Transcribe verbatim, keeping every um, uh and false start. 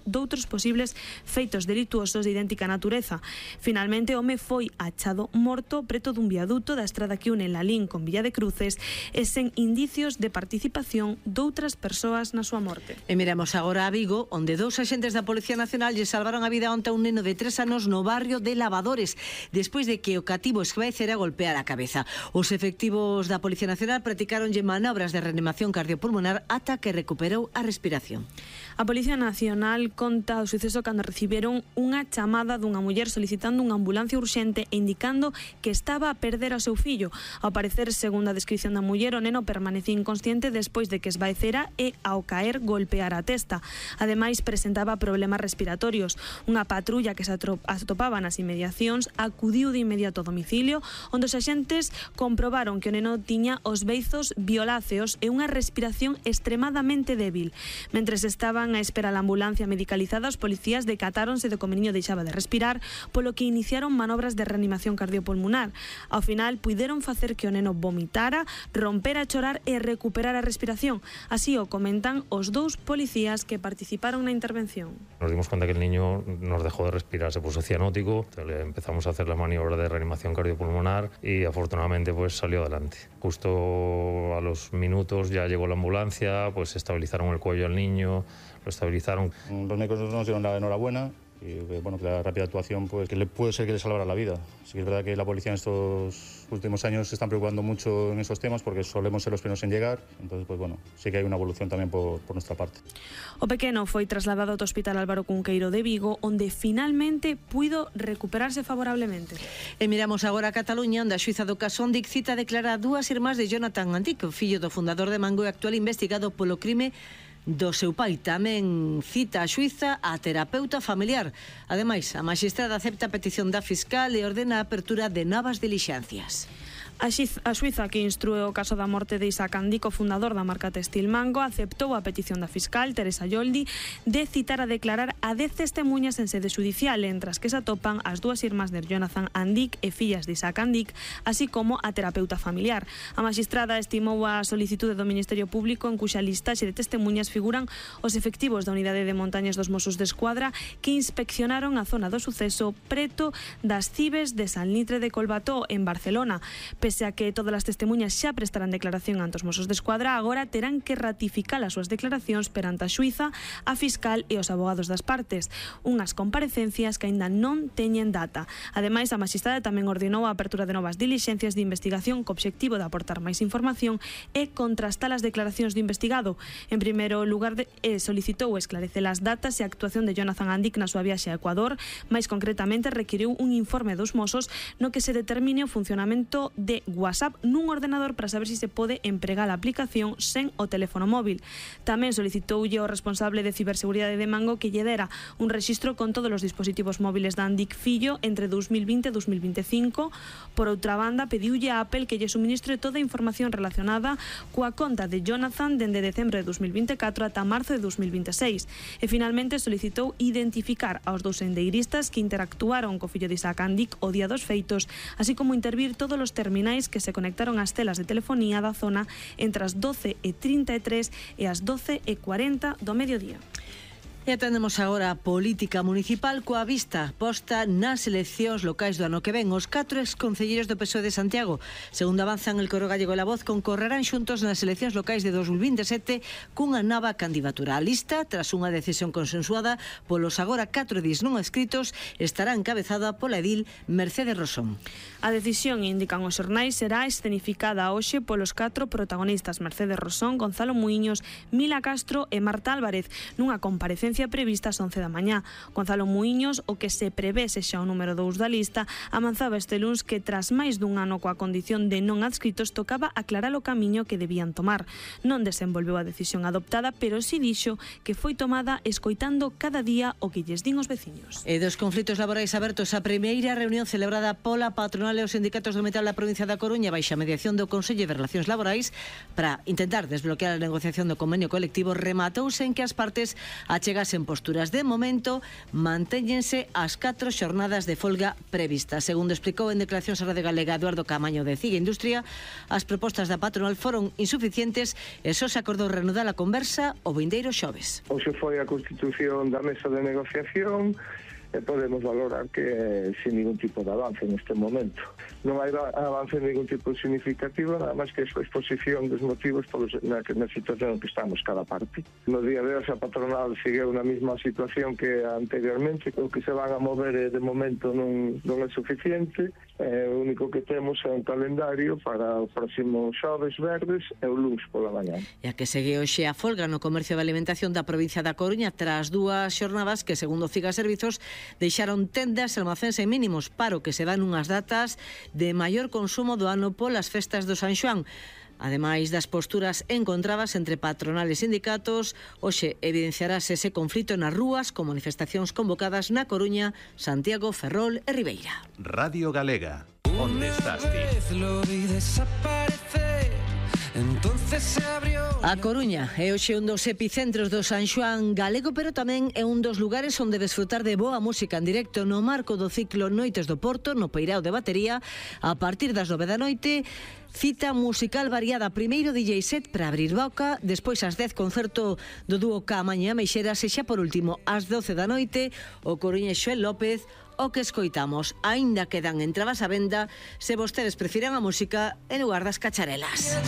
doutros posibles feitos delituosos de idéntica natureza. Finalmente, o home foi achado morto preto dun viaduto da estrada que une Lalín con Villa de Cruces e sen indicios de participación doutras persoas na súa morte. E miramos agora a Vigo, onde dous axentes da Policía Nacional lle salvaron a vida onte a un neno de tres anos no barrio de Lavadores, despois de que o cativo esvaecera golpear a cabeza. Os efectivos da Policía Nacional practicaronlle manobras de reanimación cardiopulmonar ata que recuperou a respiración. A Policía Nacional conta o suceso cando reciberon unha chamada dunha muller solicitando unha ambulancia urxente e indicando que estaba a perder ao seu fillo. Ao parecer, segundo a descripción da muller, o neno permanecía inconsciente despois de que esvaecera e, ao caer, golpeara a testa. Ademais, presentaba problemas respiratorios. Unha patrulla que se atopaba nas inmediacións acudiu de inmediato ao domicilio, onde os axentes comprobaron que o neno tiña os beizos violáceos e unha respiración extremadamente débil. Mentres estaban a espera a ambulancia medicalizada, os policías decatáronse de que o meniño deixaba de respirar, polo que iniciaron manobras de reanimación cardiopulmonar. Ao final, puideron facer que o neno vomitara, rompera a chorar e recuperar a respiración. Así o comentan os dous policías que participaron na intervención. Nos dimos cuenta que el niño nos dejó de respirar, se puso cianótico, le empezamos a hacer la maniobra de reanimación cardiopulmonar y afortunadamente pues salió adelante. Justo a los minutos ya llegó la ambulancia, pues estabilizaron el cuello al niño, lo estabilizaron. Los médicos nos dieron la enhorabuena y bueno, que la rápida actuación pues que le puede ser que le salvara la vida. Sí que es verdad que la policía en estos últimos años se están preocupando mucho en esos temas porque solemos ser los primeros en llegar, entonces pues bueno, sí que hay una evolución también por, por nuestra parte. O pequeno foi trasladado ao Hospital Álvaro Cunqueiro de Vigo, onde finalmente puido recuperarse favorablemente. E miramos agora a Cataluña, onde a xuíza do caso Andic cita a declarar a dúas irmás de Jonathan Andic, o fillo do fundador de Mango e actual investigado polo crime do seu pai. Tamén cita a xuíza a terapeuta familiar. Ademais, a maxistrada acepta a petición da fiscal e ordena a apertura de novas dilixencias. A xuíza que instrúe o caso da morte de Isaac Andic, o fundador da marca textil Mango, aceptou a petición da fiscal, Teresa Yoldi, de citar a declarar a dez testemunhas en sede judicial, entre as que se atopan as dúas irmás de Jonathan Andic e fillas de Isaac Andic, así como a terapeuta familiar. A maxistrada estimou a solicitude do Ministerio Público, en cuxa listaxe de testemunhas figuran os efectivos da Unidade de Montañas dos Mossos de Escuadra que inspeccionaron a zona do suceso preto das Cibes de San Litre de Colbató, en Barcelona. Pese a que todas as testemunhas xa prestarán declaración ante os Mossos de Escuadra, agora terán que ratificar as súas declaracións perante a xuíza, a fiscal e os abogados das partes, unhas comparecencias que aínda non teñen data. Ademais, a maxistrada tamén ordenou a apertura de novas dilixencias de investigación co obxectivo de aportar máis información e contrastar as declaracións do investigado. En primeiro lugar, de, eh, solicitou esclarecer as datas e a actuación de Jonathan Andic na súa viaxe a Ecuador. Máis concretamente, requiriu un informe dos Mossos no que se determine o funcionamento de WhatsApp nun ordenador para saber se si se pode empregar a aplicación sen o teléfono móvil. Tamén solicitoulle ao responsable de ciberseguridade de Mango que lle dera un rexistro con todos os dispositivos móviles de Andic fillo entre dous mil vinte e dous mil vinte e cinco. Por outra banda, pediulle a Apple que lle suministre toda a información relacionada coa conta de Jonathan dende decembro de dous mil vinte e catro ata marzo de dous mil vinte e seis. E finalmente solicitou identificar aos dous sendeiristas que interactuaron co fillo de Isaac Andic o día dos feitos, así como intervir todos os terminais que se conectaron ás telas de telefonía da zona entre as doce e trinta e tres e as doce e cuarenta do mediodía. E atendemos agora a política municipal coa vista posta nas eleccións locais do ano que ven. Os catro exconcelleiros do P S O E de Santiago, segundo avanzan el Coro Gallego e La Voz, concorrerán xuntos nas eleccións locais de dos mil vinte e sete cunha nova candidatura. A lista, tras unha decisión consensuada polos agora catro edís non escritos, estará encabezada pola edil Mercedes Rosón. A decisión, indican os xornais, será escenificada hoxe polos catro protagonistas Mercedes Rosón, Gonzalo Muiños, Mila Castro e Marta Álvarez, nunha comparecencia prevista ás once da mañá. Gonzalo Muiños, o que se prevé sexa o número dous da lista, avanzaba este luns que tras máis dun ano coa condición de non adscritos tocaba aclarar o camiño que debían tomar. Non desenvolveu a decisión adoptada, pero si dixo que foi tomada escoitando cada día o que lles din os veciños. E dos conflitos laborais abertos, a primeira reunión celebrada pola patronal e os sindicatos do metal da provincia da Coruña baixa a mediación do Consello de Relacións Laborais para intentar desbloquear a negociación do convenio colectivo rematouse en que as partes achegasen todas en posturas. De momento, mantéñense as catro xornadas de folga previstas. Segundo explicou en declaracións a Radio Galega Eduardo Camaño de CIGA Industria, as propostas da patronal foron insuficientes e só se acordou reanudar a conversa o vindeiro xoves. Hoxe foi a constitución da mesa de negociación e podemos valorar que sin ningún tipo de avance neste momento. Non hai avance en ningún tipo significativo, nada máis que a exposición dos motivos polos, na, na situación en que estamos cada parte. No día de hoxe a patronal sigue na mesma situación que anteriormente, o que se van a mover de momento non, non é suficiente, eh, o único que temos é un calendario para o próximo xoves verdes e o luns pola mañá. E a que segue hoxe a folga no comercio de alimentación da provincia da Coruña tras dúas xornadas que, segundo CIGA Servizos, deixaron tendas e almacéns en mínimos, paro que se dan unhas datas de maior consumo do ano polas festas do San Xoán. Ademais das posturas encontradas entre patronal e sindicatos, hoxe evidenciarase ese conflito nas rúas con manifestacións convocadas na Coruña, Santiago, Ferrol e Ribeira. Radio Galega, onde estás ti? A Coruña é hoxe un dos epicentros do San Xoán galego, pero tamén é un dos lugares onde desfrutar de boa música en directo no marco do ciclo Noites do Porto, no Peirao de Batería, a partir das nove da noite. Cita musical variada, primeiro D J set para abrir boca, despois ás dez concerto do dúo Camaña Meixeras e xa por último ás doce da noite o coruñés Xoel López. O que escoitamos, aínda quedan entradas á venda se vostedes prefiren a música en lugar das cacharelas.